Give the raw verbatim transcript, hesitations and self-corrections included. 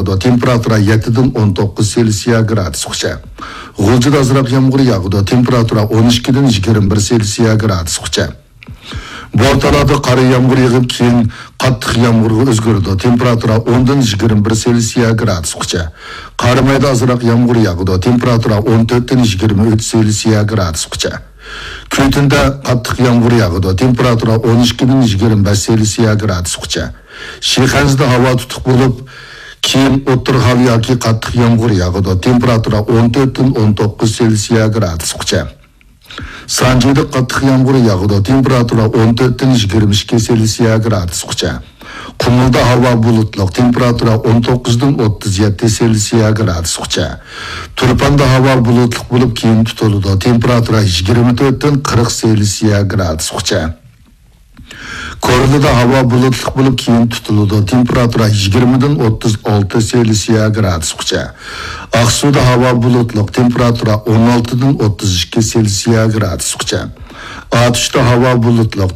ياغىدۇ، تېمپېراتۇرا يەتتىدىن ئون توققۇز سېلسىيە گرادۇسقىچە. غۇلجىدا ئازراق يامغۇر ياغىدۇ، تېمپېراتۇرا ئون ئىككىدىن يىگىرمە بىر سېلسىيە گرادۇسقىچە. بورتالادا قارا يامغۇر يېغىپ، كېيىن قاتتىق يامغۇرغا ئۆزگىرىدۇ، تېمپېراتۇرا ئوندىن يىگىرمە بىر سېلسىيە گرادۇسقىچە. قارامايدا ئازراق يامغۇر ياغىدۇ، تېمپېراتۇرا ئون تۆتتىن يىگىرمە ئۈچ سېلسىيە گرادۇسقىچە. كۈيتۈندە قاتتىق يامغۇر ياغىدۇ، تېمپېراتۇرا ئون ئىككىدىن يىگىرمە بەش سېلسىيە گرادۇسقىچە. شىخەنزىدە ھاۋا تۇتۇق بولۇپ، كېيىن ئوتتۇرا ھاۋا ياكى قاتتىق يامغۇر ياغىدۇ، تېمپېراتۇرا ئون تۆتتىن ئون توققۇز سېلسىيە گرادۇسقىچە. سانجىدا قاتتىق يامغۇر ياغىدۇ، تېمپېراتۇرا ئون تۆتتىن يىگىرمە ئىككى سېلسىيە گرادۇسقىچە. قۇمۇلدا ھاۋا بۇلۇتلۇق، تېمپېراتۇرا ئون توققۇزدىن ئوتتۇز يەتتە سېلسىيە گرادۇسقىچە. تۇرپاندا ھاۋا بۇلۇتلۇق بولۇپ، كېيىن تۇتۇلىدۇ، تېمپېراتۇرا يىگىرمە تۆتتىن قىرىق سېلسىيە گرادۇسقىچە. كورلىدا ھاۋا بۇلۇتلۇق بولۇپ، كېيىن تۇتۇلىدۇ، تېمپېراتۇرا يىگىرمىدىن ئوتتۇز ئالتە سېلسىيە گرادۇسقىچە. ئاقسۇدا ھاۋا بۇلۇتلۇق، تېمپېراتۇرا ئون ئالتىدىن ئوتتۇز ئىككى سېلسىيە گرادۇسقىچە. ئاتۇشتا ھاۋا بۇلۇتلۇق،